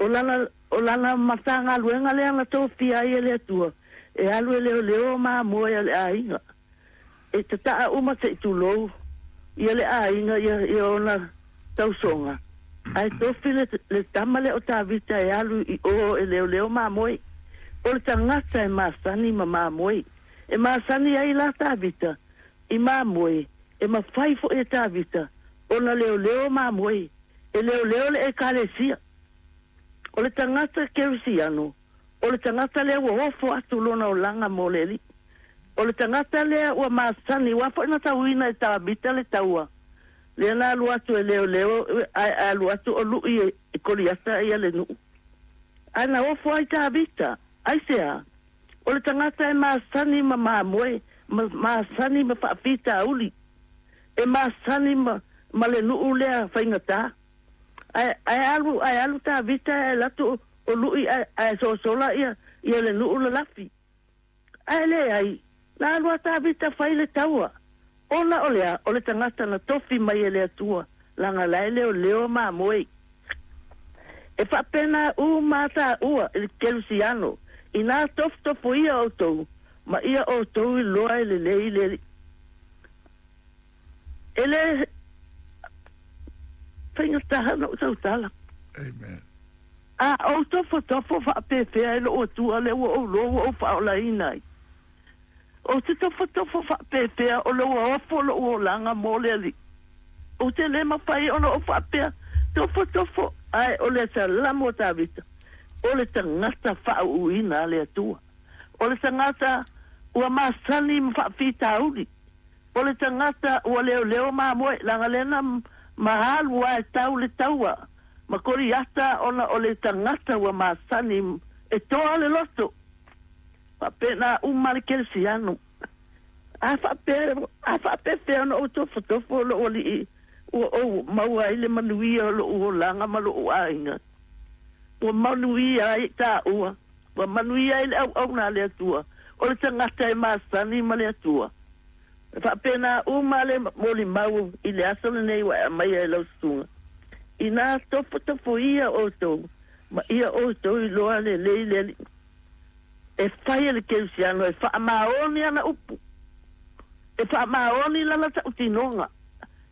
O lana, o lana Matagaluega lea na tofia ai e le Atua e alu e leoleo mamoe a le aiga. E tata'a uma se i tulou ia le aiga ia ona tausoga, ae tofi le tama lea o Tavita e alu i o e leoleo mamoe. O le tagata e masani ma mamoe. E masani ai la Tavita i mamoe, e mafai foi e Tavita ona leoleo mamoe, e leoleo le Ekalesia. O le tagata kerisiano, o le tagata lea ua ofo atu lona olaga mo le Alii. O le tagata lea ua masani, aua foi na tauina e Tavita le taua, lea na alu atu e leoleo, ae alu atu o lui e Koliata ia le nuu. Ae na ofo ai Tavita, aisea? O le tagata e masani ma mamoe, ma masani ma faafitauli, e masani ma le nuu lea faigata. Ae alu, ae alu Tavita ae alu atu o lui ae sosola ia le nuu lalafi. Ae leai, na alu a Tavita fai le taua. Ona o lea, o le tagata na tofi mai e le Atua, leaga la e leoleo mamoe. E faapena uma taua i le kerisiano, inā tofotofoia outou, ma ia outou iloa e lelei le Alii. E le faigata ona ou tautala. Amen. A ou tofotofo faapefea e lou Atua lea ua ou iloa ua ou faaolaina ai. Ou te tofotofo faapefea o lea ua ofo lou olaga mo le Alii. Ou te le mafai ona ou faapea tofotofo, ae o le Salamo a Tavita, o le tagata faauuina a le Atua. O le tagata ua masani ma faafitauli. O le tagata ua leoleo mamoe, leaga lea na ma alu lava e tau le taua ma Koliata ona o le tagata ua masani e toa le loto. Faapena uma le kerisiano. A faapea, a faapefea ona ou tofotofo lou Alii ua ou maua ai le manuia o lou olaga ma lou aiga. Ua manuia ai taua, ua manuia ai le auauna a le Atua, o le tagata e masani ma le Atua. E faapena uma le molimau i le aso lenei ua e aumaia e lau susuga. Inā tofotofoia outou ma ia outou iloa lelei le Alii. E fai e le kerisiano e faamaoni ana upu, e faamaoni lana tautinoga.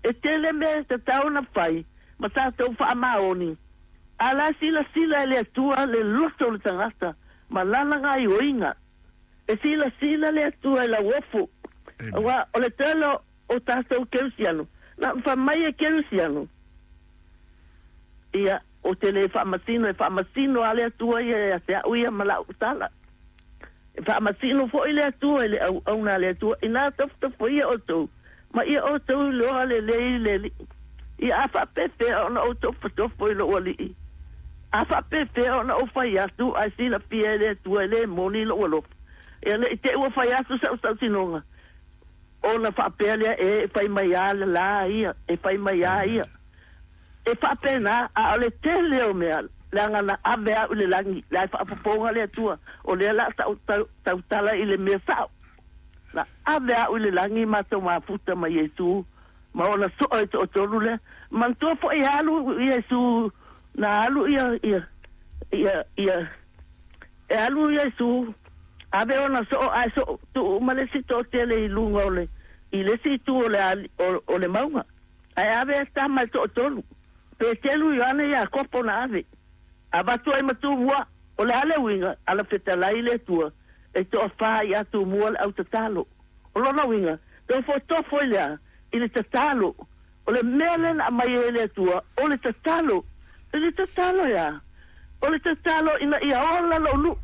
E tele mea e tatau ona fai ma tatou faamaoni, a la e silasila e le Atua le loto o le tagata ma lana gaioiga. E silasila le Atua i lau ofo, aua o le tele o tatou kerisiano, na fai mai e kerisiano, ia, ou te le faamasino, e faamasino lava le Atua ia ia te au ia ma lau tala. E faamasino foi le Atua i le auauna a le Atua, inā tofotofoia outou, ma ia outou iloa lelei le Alii. Ia a faapefea ona ou tofotofo i lou Alii? A faapefea ona ou fai atu ae silafia e le Atua e le moni lou alofa? Ia ne i te i ua fai atu sau tautinoga, ona faapea lea, E fai mai a la ia, e fai mai a ia. E faapena, a o le tele o mea, leaga na ave au i le lagi, la e faafofoga le Atua, o lea o le a tautala i le mea sao. Na ave au i le lagi matou mafuta ma Iesu ma ona soo e toatolu lea. Manatua foi e alu Iesu, na alu ia, ia, ia, ia, e alu Iesu, ave ona soo ae soo tuu uma le isi toatele i luga o le, i le isi itu o le, o le mauga. Ae ave tama e toatolu, Petelu, Ioane, Iakopo na ave. Avatu ai ma Tumua, o le a le uiga, ala fetalai le Atua, e toafa ia Tumua le au tatalo. O lona uiga, tofotofo i le a? I le tatalo. O le mea lea na aumai ai e le Atua, o le tatalo. I le tatalo e a? O le tatalo ina ia ola lou nuu,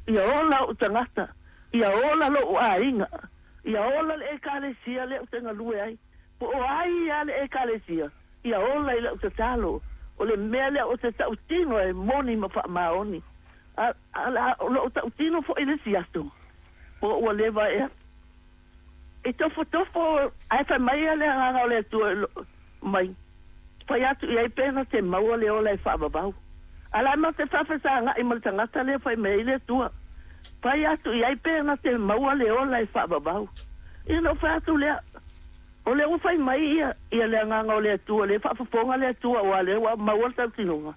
ia ola ou tagata, ia ola lou aiga, ia ola le Ekalesia lea ou te galue ai. Po o ai lava le Ekalesia, ia ola i lau tatalo. O le mea lea ou te tautino e moni ma faamaoni. A, a, o lou tautino foi i le isi aso, po ua leva ea. E tofotofo ae fai mai le Agaga o le Atua mai, fai atu i ai pe na te maua le ola e faavavau. A la ma te faafesagai ma le tagata lea fai mai ai le Atua, fai atu i ai pe na te maua le ola e faavavau. Ia na ou fai atu lea, o lea ua fai mai ia, ia le Agaga o le Atua, lea e faafofoga le Atua, aua o lea ua maua le tautinoga.